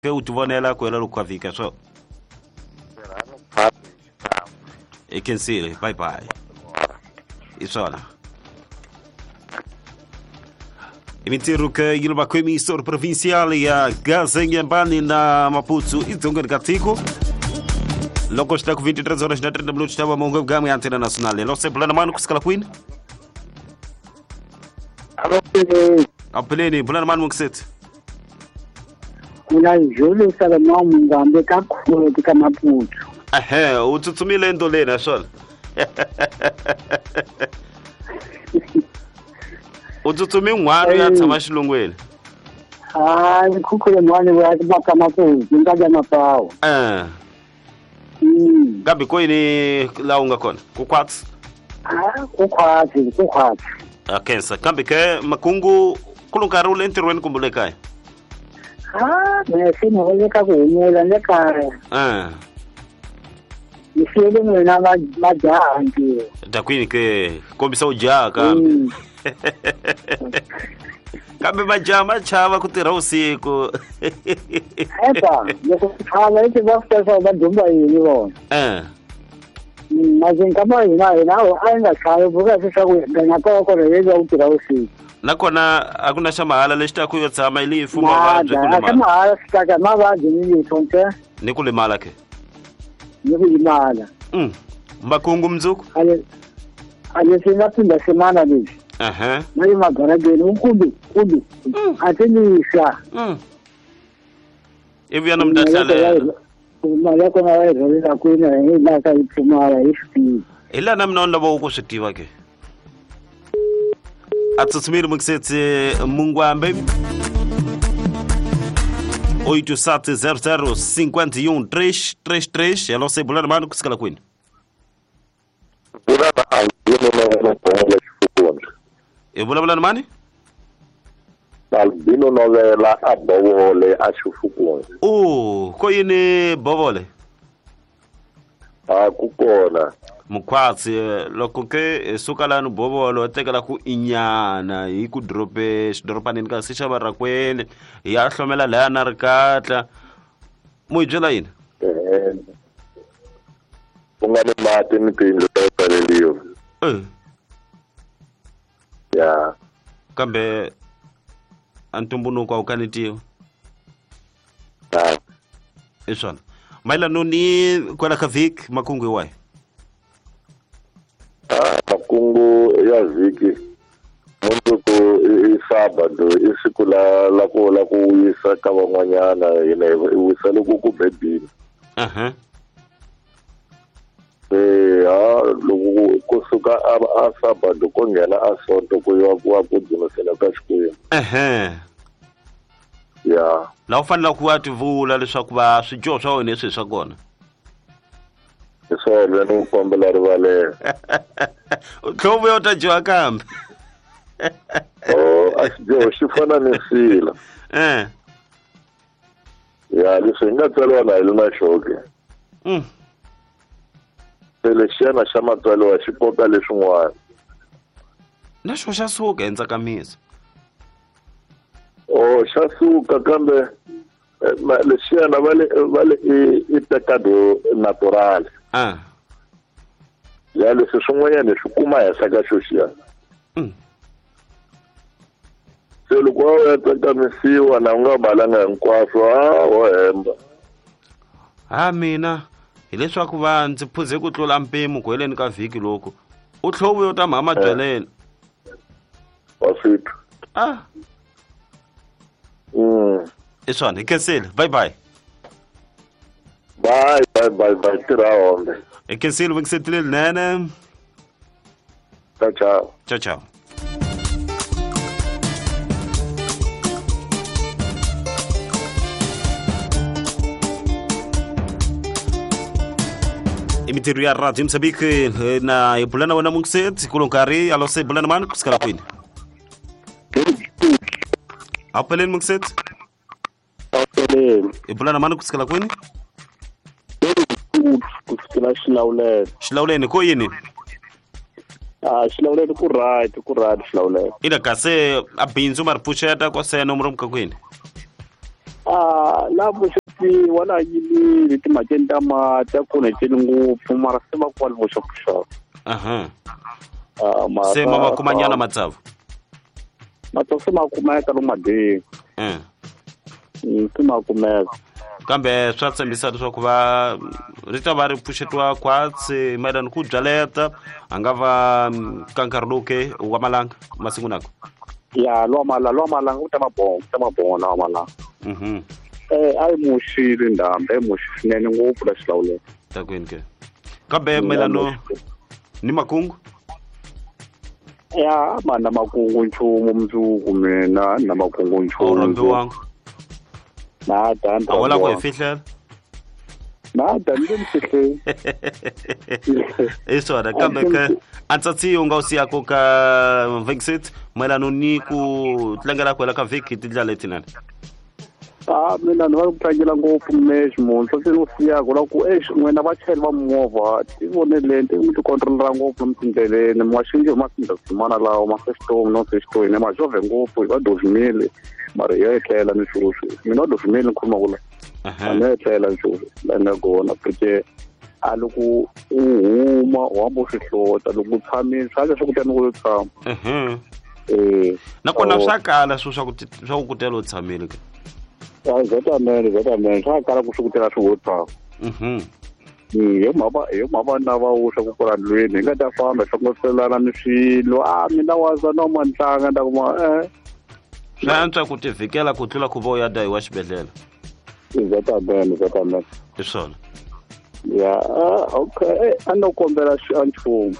Ke u tivonela ku hela loko ka vhiki swo i khensile. Bye bye. I swona i mintirho ke yi le makhwemisoro provincial ya Gazengyambani na Maputo idzongeni ka tiko loko swi ta ku 23 horas na 30 minutos tava mongo gamu ya Antena Nacional. Lo se bulana mani kusikala kwini? Apeleni bulana mani mukuseti. Kuna Julius Salomão Mungwambe kakhulu ka Maputo. Ehe, u tsutsumile endoleni swona. U tsutsumi n'wana ya tshama xilungwini. Hayi, khukhule n'wana wa ka Maputo, nga ya Mapawu. Eh. Kambe ko yini laha u nga kona? Ku khwatsi? Ah, ku khwatsi, ku khwatsi. A khensa. Kambe ke makungu ku lo nkarhi u le ntirhweni kumbe le kaya? Ah, me se ni le ka ku humula le kaya. Eh. Ni siyele n'wina majaha ntirho. Ta kwini ke kombisa u jaha kambe. Kambe majaha ma chava ku tirha vusiku. Eka, loko ku chava i tiva ku leswaku va dumba yini vona. Eh. Mazinga ma hina hina a yi nga chavi buka leswaku na kona kona yi va ku tirha vusiku. Nakona a ku na xa mahala lexi ta ku yo tshama i leyi mavabyi ku limala. A xa mahala swi taka mavabyi ni lifo nte. Ni ku limala ke? Ni ku limala. Makungu mundzuku? A leswi nga phinda semana leswi. Aha. Na le magarageni u kumbe kumbe a ti nisa. Ivi ya no mi ta hlalela. Mali ya kona va yi rhwalela kwini hi laha ka yi pfumala hi swi tivi. Hi laha na mina ni lava ku swi tiva ke. A tsutsumile mukisetsi Mungwambe 8700 51 333. Hello, se bulana mani kusikala kwini? I vulavula ni mani? Albino Novela a Bovole a Xifukuni. U ko yini Bovole? A ku kona. Mukhwatsi loko ke suka lani Bovole wa tekela ku inyana hi ku drope xidoropanini ka se xava rakwele ya hlomela laya na rikatla. Mu hi byela yini? Ku nga ni mati ni tiyindlu ta pfaleriwa. Ya. Kambe a ntumbuluko a wu kanetiwa. I swona. Mayelano ni kwala ka vhiki makungu hi wahi? Makungu ya vhiki mundzuku i sabado i siku la ku la ku wisa ka van'wanyana hina hi wisa loko ku bebini. Aha. Ha loko kusuka a sabado ku nghena a sonto ku yiwa ku wa ku dzunisela ka Xikwembu. Ehe. Ya. La u fanele ku va tivula leswaku va swidyoho swa wena leswi swa kona. Hi swona ni ku kombela rivalelo. Tlhovu yo ta dyoha kambe. Oh, a xidyoho xi fana ni sila. Eh. Ya, leswi hi nga tswariwa na hi le na xoke. Se lexiyana xa matswariwa xi koka leswin'wana. Na xo xa suka endzhaku. Oh, xa suka kambe lexiyana va le i pecado natural. Ah. Ya leswi swin'wanyana swi kuma henhla ka xo xiyana. Se loko wa ya tsakamisiwa na u nga balanga hinkwaswo a wo hemba. Ha mina hileswaku va ndzi phuze ku tlula mpimo ku heleni ka vhiki loko u tlhovu yo ta mhama byeleni. Wa swi twa. Ah. I swona hi khensile. Bye bye. Bye bye bye bye tirha hombe. Hi khensile vungisetile linene. Ciao ciao. Ciao ciao. Imitirho ya Radio Mozambique na hi bulana wena mungisetsi kulo nkarhi alo se bulana mani kusikala kwini? Apeleni mungisetsi. Apeleni. Hi bulana mani kusikala kwini? Kusikela Xilawuleni. Xilawuleni ko yini? Ah, Xilawuleni ku right, ku right Xilawuleni. Ina kasi a bindzu ma ri pfuxeta ko sena mu ri muka kwini? La vuxopi wala yimile timhakeni ta mati a khonekeli ngopfu mara se va kwale vuxopuxopu. Aha. Mara Se ma va kumanyana matsavu. Matsavu se ma kumeka lomu madini. Se ma kumeka. Kambe swa tshembisa leswaku va ri ta va ri pfuxetiwa khwatsi mayelana ku byaleta a nga va ka nkarhi lowu ke wa malanga masiku nako. Ya lwa malanga ku ta va bonga, ku ta va bonga wa malanga. A yi muxile ndhambi, a yi muxi swinene ngopfu la xilawulelo. Ta kwini ke? Kambe mayelana ni makungu? Ya ma na makungu nchumu mundzuku mina na makungu nchumu. A wu rhambiwanga? Na ta A wu lava ku hi fihlela? Na ta ni mi fihleli. I swona kambe ke antsatsi u nga wu siyaka ka Vexit mayelana ni ku tlangela ku hela ka vhiki hi tindlela letinene. Mina ni va ku tlangela ngopfu mexe munhu se ni wu siyaka la ku exi n'wina vachayeri va movha ti voneleni ti mi ti controlera ngopfu lomu tindleleni mi nga xingi hi masindasimana lawa ma sextomi no sextomi ma xovhe ngopfu hi va dovimile mara hi ya etlela ni swoswi mina va dovimile ni khuluma ku la a ni ya etlela ni swoswi la ni nga kona porque a loko u huma u hamba u swi hlota loko u tshamile swa leswaku ta ni ku yo tshama. Nakona swa kala swo swa ku swa ku kutela u tshamile ke. Zetamene swa kala ku swi kutela swi wo tshama. Hi mhaka na va wu swa ku kula ndlwini hi nga ta famba hlongoselana ni swilo a mina wa za no mantlanga nda kuma Swa antswa ku tivhikela ku tlula ku va u ya dayiwa xibedhlele. Zetamene. Hi swona. Ya, okay, a no kombela nchumu.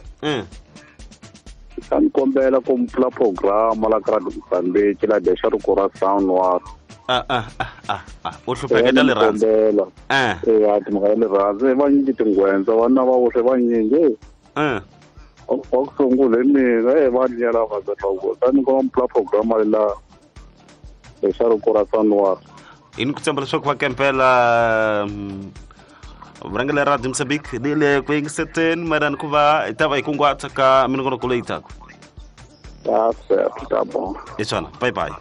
A ni kombela ku mpfula programa la ka Radio Mozambique la dexa ri ku ra sound wa. U hlupheketa rirhandzu. Ya timhaka ta rirhandzu va nyingi tinghwendza vana va voxe va nyingi. Wa ku sungula hi mina va nyela va za ku ta ni komba mpfula programa la dexa ri ku ra sound wa. Hi ni ku tshemba leswaku va kempela vurhangeri ra Radio Mozambique ni le ku yingiseteni mayelana ku va hi ta va hi kunguhata ka minongonoko leyi taka. Ta certo, tá bom. Hi swona, bye bye.